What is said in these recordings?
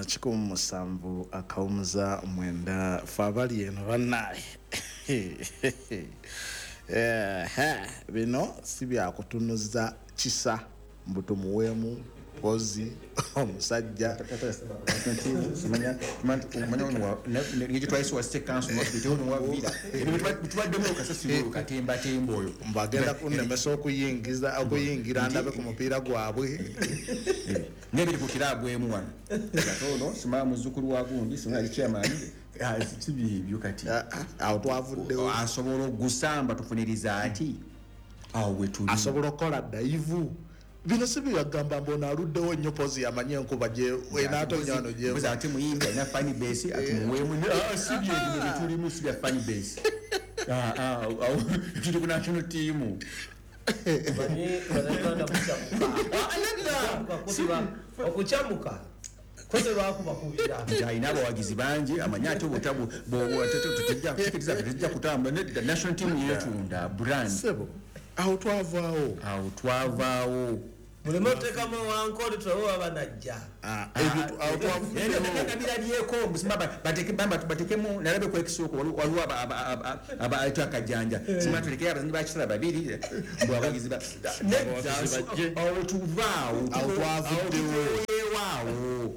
107 akawumuza 9 fe abali eno bannaye. Bino si byakutunuza kisa mbu tumuweemu pozi omusajja. Mbagenda kunnemesa okuyingiza okuyingira ndabe ku mupiira gwabwe nebiri ku kiraabu emu wano katono simaya muzzukulu wa gundi simaya ali chairman si byebyo kati awo twavuddewo asobola ogusamba tufuniriza ati awo wetuli asobola okukola dayivu. Bino si byagamba mbu ono aluddewo nnyo pozi yamanye enkuba gye enaatonya wano gye Mbuzi ate muyimbi alina fan base atumuweemu si byebino byetulimu si bya fan base. Awo tuli ku national team. Manyi Bannayuganda mukyamuka okukyamuka koze lwakubakubira nti alina abawagizi bangi amanyi ate obutabu tejja kutambula nedda national team yeetunda brand. Sebo awo twavaawo awo twavaawo muleme oteekamu wankole tulabe baba najja. Ebyo awo twavuddewo. Birabyeko batekemu nalabe ku ekisooka waliwo abaita akajanja sima tulekeyo abazanyi bakisala babiri mbu abawagizi bajje. Awo tuvaawo Awo twavuddewo. Awo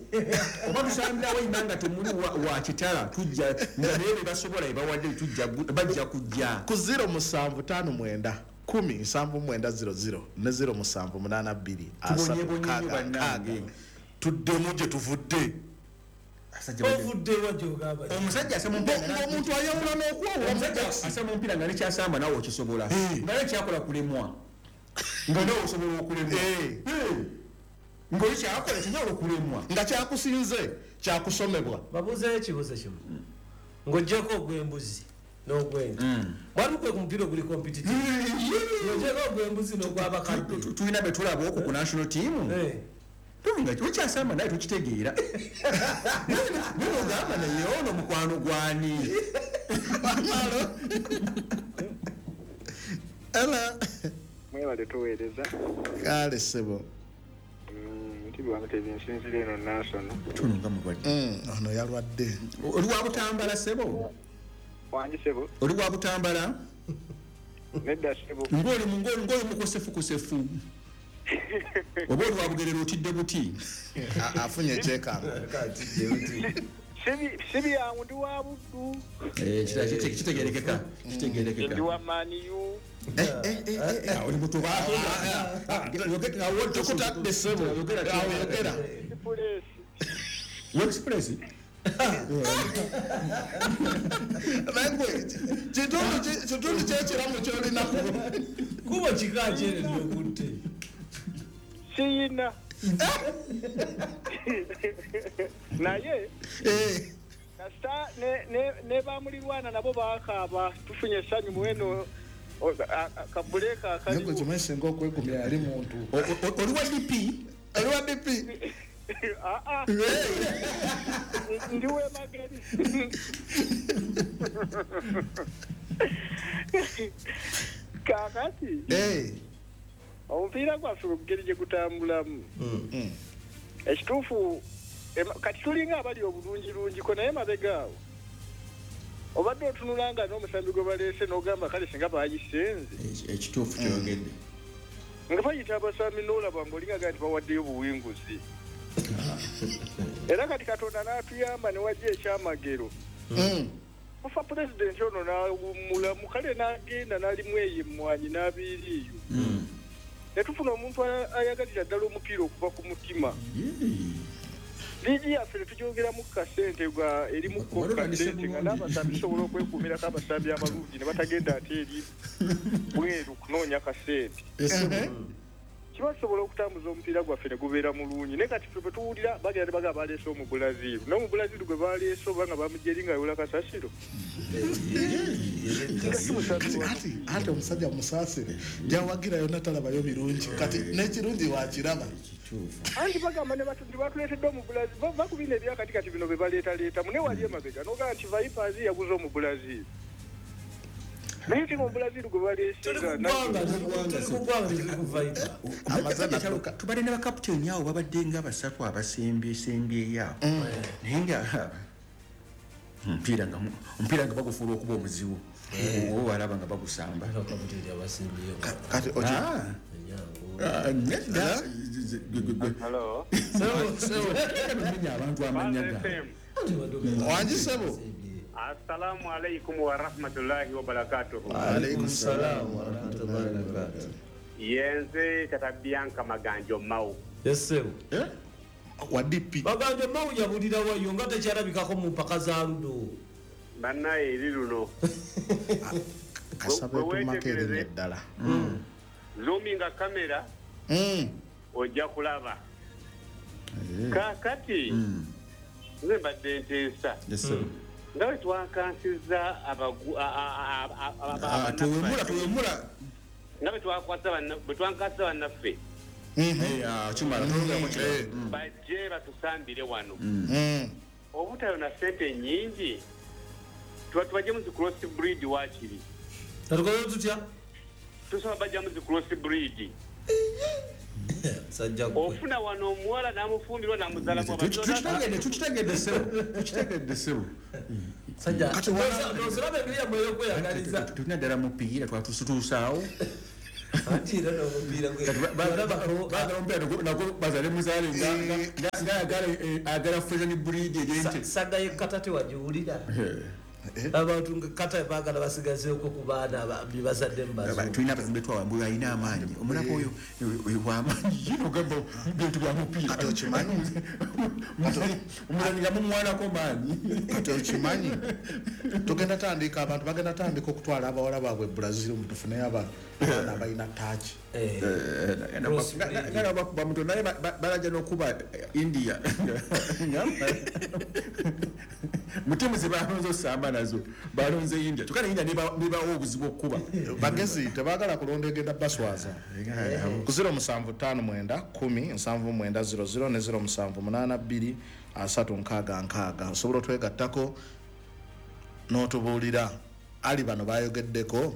oba tusambirawo ima nga temuli wa kitala tujja nga naye bebasobola ebawadde tujja bajja kujja ku 0759 10 79 00 ne 0782 Tubonyebonye nnyo 36 bannange. 6 tuddemu gye tuvudde. Ovuddewa gyogamba Omusajja asema omupiira Ng'omuntu ayawula n'okwawula. Omusajja asema omupiira nga nekyasamba naawe okisobola nga nekyakola kulemwa nga nawe osobola okulemwa ng'oli kyakola kinyawola okulemwa Nga kyakusinze kyakusomebwa. Babuuzeyo ekibuuzo kimu ng'oggyeko ogw'embuzi n'ogw'ente mwali gwe ku mupiira oguli competitive ng'oggyeko ogw'embuzi n'ogw'abakadde. Tulina be tulaba okwo ku national team tulinga wekyasamba naye tukitegeera naye ogamba naye ono mukwano gwani. Ela Mwebale tuweereza. Kale sebo. Ntibi wamutezi nsinzira eno Nansona. Tuno nga mulwadde. Ono yalwadde. Oli wa Butambala sebo? Wangi sebo. Oli wa Butambala? Nedda sebo. Ng'oli ng'oli mukosefu kusefu oba oli wa Bugerere otidde buti? Afunye ekyekanga. Si byangu ndi wa Buddu. Kitegerekeka kitegerekeka. Ndi wa Man U. Oli mutuba Tukutadde sebo awo yogera. Express. Express. Naye gwe kitundu kyekiramu kyolina Kuba kika kyere lyokutte. Siyina naye kasita ne bamulirwana nabo bakaaba tufunye essanyu muweno kabuleeka Naye gwe akaliwo. kimanyi singa okwegumya yali muntu. Oli wa DP? Oli wa DP? Aa, ndi w'emageri. Kaakati omupiira gwaffe engeri gye gutambulamu ekituufu kati tulinga abali obulungirungiko naye mabega awo obadde otunula nga n'omusambi gwe baleese n'ogamba kale singa bagisenze. Ekituufu kyogedde. Nga bayita abasambi n'olaba ng'olingaga nti bawaddeyo buwinguzi era kati Katonda n'atuyamba ne wajja ekyamagero kufa pulezidenti ono n'awummulamu kale n'agenda n'alimu eyo emmwanyi n'abeera eyo ne tufuna omuntu ayagalira ddala omupiira okuva ku mutima. Liigi yaffe ne tugyongeramu kasente ga erimu ko Waliwo kasente kandise nga bulungi. N'abasambi tusobola okwekuumirako abasambi abalungi ne batagenda ate eri bweru kunoonya kasente kiba tusobola okutambuza omupiira gwaffe ne gubeera mulungi naye kati ffe bwe tuwulira bagenda ne bagamba baleese Omubulaziru n'Omubulaziru gwe baleese oba nga bamugja eri nga ayola kasasiro nga si musambi wa Ati ate omusajja musaasire gyawagira yonna talabayo birungi kati n'ekirungi wakiraba. Anti bagamba ne nti batuleetedde Omubulaziru bakubina ebyakati kati bino bye baleetaleeta mune wali emabega n'ogamba nti Vipers yaguze Omubulaziru. Naye timu Brazil gwe baleesinga tubadde ne bakaputeni awo babadde nga basatu abasembyeyo awo, naye nga omupiira nga bagufuula okuba omuzibu, oba balaba nga bagusamba. Kati abantu amannya gaabwe. Wangi ssebo. Assalamu alaikum wa rahmatullahi wa barakatuhu. Wa alaikum salam wa rahmatullahi wa barakatuhu. Yenze Tata Bianca Maganjo Mau. Yes sir. Wa DP. Maganjo Mau yabulira wayo nga tekyalabikako mu mpaka za Ludo. Bannaye eri luno. Kasabe tumakere ddala. Zoominga kamera. Ojja kulaba. Kaakati nze mbadde nteesa. Yes sir. Nga bwe twakansiza tuwemula nga bwe twankasiza bannaffe bajje batusambire wano obutayo na ssente nnyingi, tubajje mu zi cross breed waakiri. Tukoze tutya? Tusaba bajja mu zi cross breed. Ofuna wano omuwala n'amufumbirwa n'amuzalamu. Tukitegedde ssebo. Tulina ddala mupiira twatutuusaawo. Baagala omupiira muzaale nga ayagala fashion breed egy'ente. Saga y'ekkata tewagiwulira. Abantu nga kata baagala basigazeeko ku baana bye bazadde mu bazungu. Tulina abazungu betwawamba alina amaanyi, omulaba oyo w'amaanyi ye n'ogamba bintu bya mupiira. Kati okimanyi? Omuzanyi nga mumuwanako maanyi. Kati okimanyi? Tugenda tandika abantu bagenda tandika okutwala abawala baabwe e Brazil tufuneyo abaana abalina taaki. Nga bakuba muto naye balajja n'okuba India. Mu ttiimu ze balonze osamba nazo balonze India, kyokka ne India nebawa obuzibu okukuba. Bagezi tebaagala kulonda egenda baswaza. Ku 0759 10 79 00 ne 0782 366 osobola otwegattako n'otubuulira ali bano bayogeddeko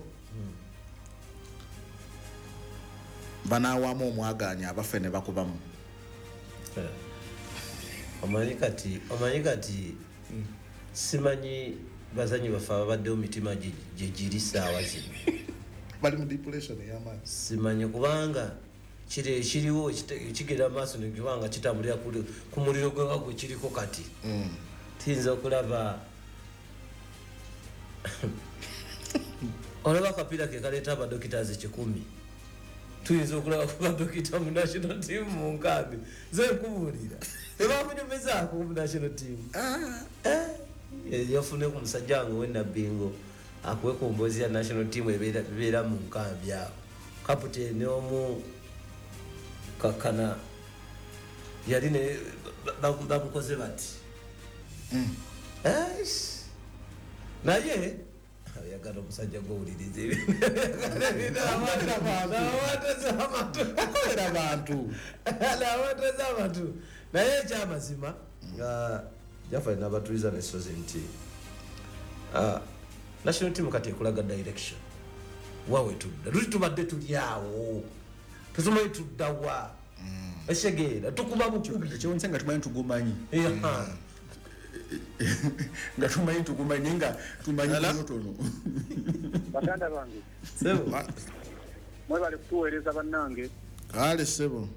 banaawamu omwagaanya abaffe ne bakubamu. Omanyi kati simanyi bazanyi baffe ababaddewo mitima gye giri ssaawa zino. Bali mu depression ey'amaanyi. Simanyi kubanga kiri ekiriwo kigenda maaso nekubanga kitambulira ku muliro gwe nga gwe kiriko kati. Tuyinza okulaba olaba akapiira ke kaleeta abadokitazi 10. Tuyinza okulaba ku badokita mu national team mu nkambi. Nze nkubuulira tebakunyumizaako mu national team. Yafune ku musajja wange ow'eNabbingo akuwe ku mboozi ya national team ebeera mu nkambi awo. Kaputeni omu kakana yali ne bamukoze bati. Naye oyagala omusajja gw'owuliriza akolera abantu. N'awateza abantu. Naye ekyamazima nga Jafari n'abatuliza n'essozi nti national team kati ekulaga direction wawe tudda luli tubadde tuli awo tetumanyi tudda wa ekitegeera tukuba bukubi. Ekyewuunyisa nga tumanyi tugumanyi. Nga tumanyi tugumanyi naye nga tumanyi tonotono. Baganda bange mwebale kutuweereza bannange. Kale ssebo.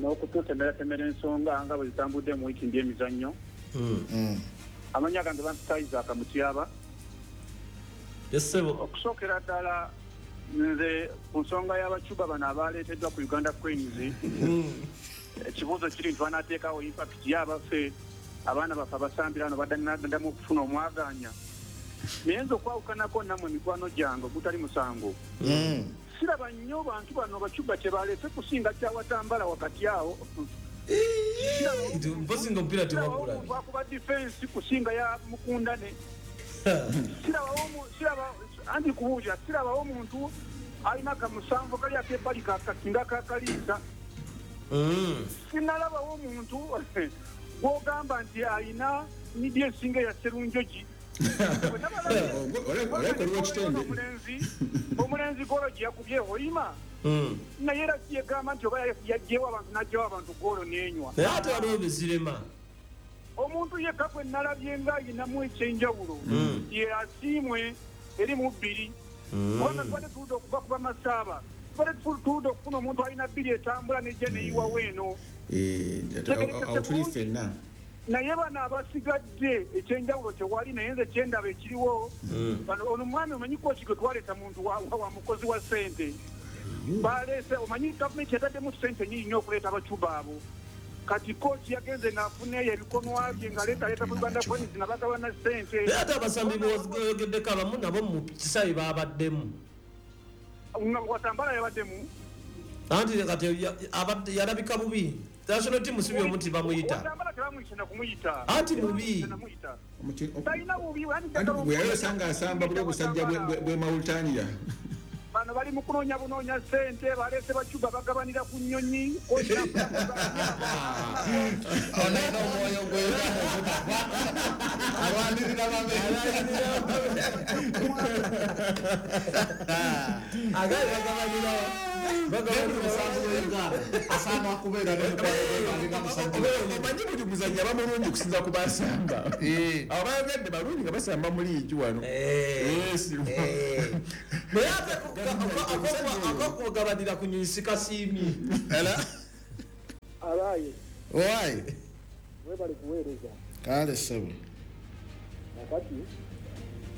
N'okututemeratemera ensonga nga bwe zitambudde mu wiiki emizannyo. Amannya gange bampita Isaac Mutyaba. Yes ssebo. Okusookera ddala nze ku nsonga y'abacuba bano abaleeteddwa ku Uganda Cranes, ekibuuzo kiri nti banaateekawo impact y'abaffe abaana baffe abasambira wano baddamu okufuna omwagaanya. Naye nze okwawukanako nammwe mikwano gyange ogutali musango, siraba nnyo bantu bano bacuba kye baleese kusinga kyawatambala wakati awo. Mpozi nga omupiira tewagulabye. Akuba defense kusinga ya Mukundane. Andi kubuulira sirabawo omuntu alina kamusanvu kali akebbali kasinga kakaliisa. Sinalabawo omuntu gw'ogamba nti alina midi esinga eya Serunjogi. Omulenzi golo gye yakubye Hoima. Naye era yegamba nti oba yaggyewo abantu n'aggyewo abantu golo n'enywa. Naye ate waliwo bizirema. Omuntu yekka gwe nalabye nga ayinamu ekyenjawulo ye Asiimwe eri mu 2. Kubanga tubadde tuludde okuva kuba Masaaba, tubadde tuludde okufuna omuntu alina 2 etambula nejja neyiwawo eno. Awo tuli ffenna. Naye bano abasigadde ekyenjawulo tewali, naye nze kyendaba ekiriwo ono omwami omanyi kooki gwe twaleeta muntu wa mukozi wa ssente. Baleese omanyi gavumenti yataddemu ssente nnyingi nnyo okuleeta abacuba abo. Kati kooki yagenze n'afuna eyo ebikonwa bye ng'aleetaleeta mu Uganda Cranes nga bagabana ssente. Naye ate abasambi boyogeddeko abamu nabo mu kisaawe babaddemu. Nga Watambala yabaddemu. Anti kati yalabika bubi. National team si omuntu bamuyita. Watambala tebamuyita na kumuyita. Anti mubi. Talina bubi. Anti bwe yali osanga asamba buli obusajja bwe Mauritania. Bano bali mu kunoonya bunoonya ssente, baleese bacuba bagabanira ku nnyonyi. Ono alina omwoyo gwe alwanirira babe. Agaali bagabanira asaana kubeera omanyi buli muzannyi aba mulungi okusinza ku basamba. Abayogedde balungi nga basamba mu liigi wano. Naye ate akokugabanira ku nnyonyi sikasiimye. Abaye. Why? Webale kuweereza. Kale ssebo. Kakati.